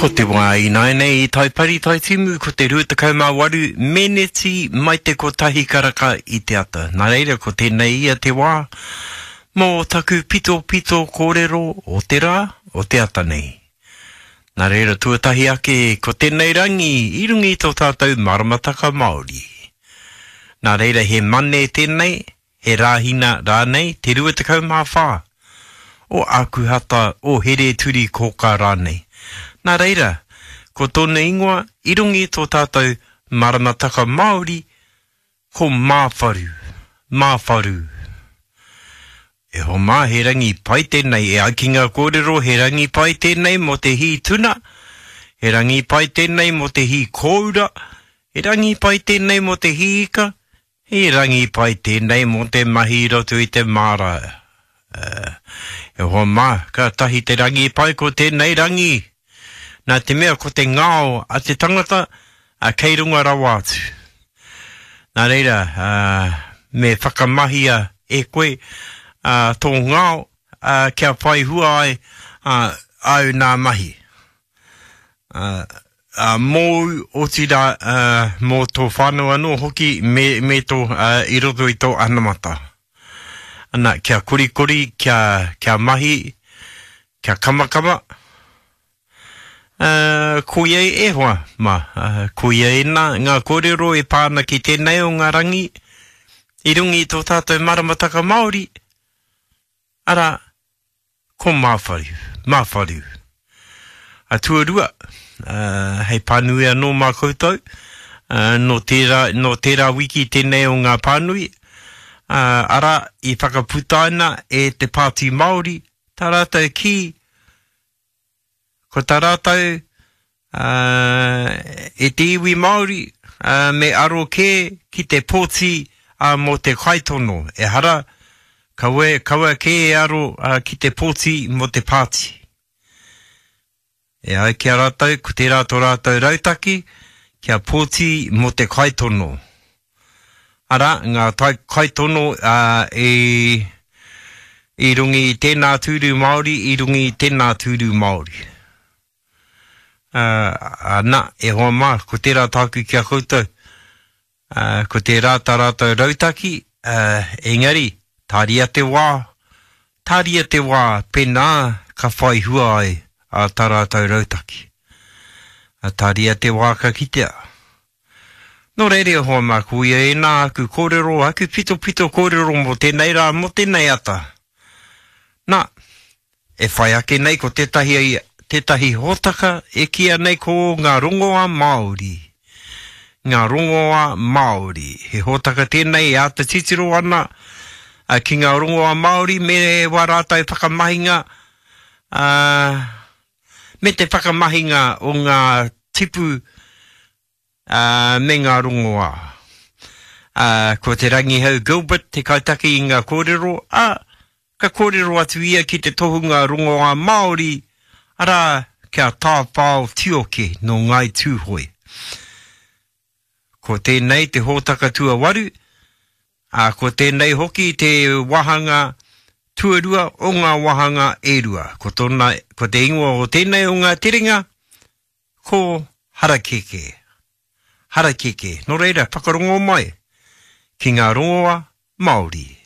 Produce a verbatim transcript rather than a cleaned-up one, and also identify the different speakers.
Speaker 1: Ko te wā ināianei i Taipari, Taitimu, ko te rua tekau mā waru meneti mai te kotahi karaka i te ata. Nā reira, ko tēnei ia te wā mō taku pitopito kōrero o te rā, o te ata nei. Nā reira, tuatahi ake, ko tēnei rangi i runga i tō tātou maramataka Māori. Nā reira, he Mane tēnei, he Rāhina rānei, te rua tekau mā whā o Ākuhata, o Here-turi-kōkā rānei. Nā reira, ko tōna ingoa i runga i tō tātou maramataka Māori, ko Māwharu. Māwharu. E hoa mā, he rangi pai tēnei, e ai ki ngā kōrero, he rangi pai tēnei mō te hī tuna, he rangi pai tēnei mō te hī kōura, he rangi pai tēnei mō te hī ika, he rangi pai tēnei mō te mahi i roto i te māra. E hoa mā, kātahi te rangi pai ko tēnei rangi. Nā te mea ko te ngao a te tangata, a kei runga rawa atu. Nā reira, a, me whakamahia e koe a, tō ngao a, kia whai hua ai a, āu nā mahi. A, a, mōu, otirā, a, mō tō whānau anō hoki me, me tō, a, i roto i tō anamata. Ana, kia korikori, kia, kia mahi, kia kamakama. Uh, koia e hoa, ma, uh, koia ēnā ngā kōrero e pā ana ki tēnei o ngā rangi i runga i tō tātou maramataka Māori, arā, ko Māwharu, Māwharu. A tuarua, uh, hei pānui anō mā koutou, uh, nō tērā, nō tērā wiki tēnei o ngā pānui, uh, arā, i whakaputaina e te Pāti Māori, tā rātou kī, ko tā rātou, uh, e te iwi Māori, uh, me aro kē ki te pōti, uh, mō te kaitono. Ehara, kaua, kaua kē e aro, uh, ki te pōti mō te pāti. E ai ki a rātou, ko tērā tō rātou rautaki, kia pōti mō te kaitono. Arā, ngā tai, kaitono, uh, i, i runga i tēnā tūru Māori, i runga i tēnā tūru Māori. Uh, uh, nā, e hoa mā, ko tērā tāku ki a koutou. Uh, ko tērā tā rātou rautaki, uh, engari, tāria te wā, tāria te wā, pēnā ka whai hua ai a tā rātou rautaki. Uh, tāria te wā ka kitea. Nō reira, e hoa mā, ko ia ēnā aku kōrero, aku pitopito kōrero mō tēnei rā, mō tēnei ata. Nā, e whai ake nei ko tētahi, tētahi hōtaka e kīia nei ko ngā rongoā Māori. Ngā rongoā Māori. He hōtaka tēnei e āta titiro ana, a, ki ngā rongoā Māori me wā rātou whakamahinga, a, me te whakamahinga o ngā tipu, a, me ngā rongoā. A, ko te Rangihau Gilbert te kaitaki i ngā kōrero, a, ka kōrero atu ia ki te tohunga rongoā Māori, arā, kia Tāwhao Tioke nō Ngāi Tūhoe. Ko tēnei te hōtaka tuawaru, ā, ko tēnei hoki te wāhanga tuarua o ngā wāhanga e rua. Ko tōna, ko te ingoa o tēnei o ngā terenga, ko Harakeke. Harakeke. Nō reira, whakarongo mai ki ngā rongoa Māori.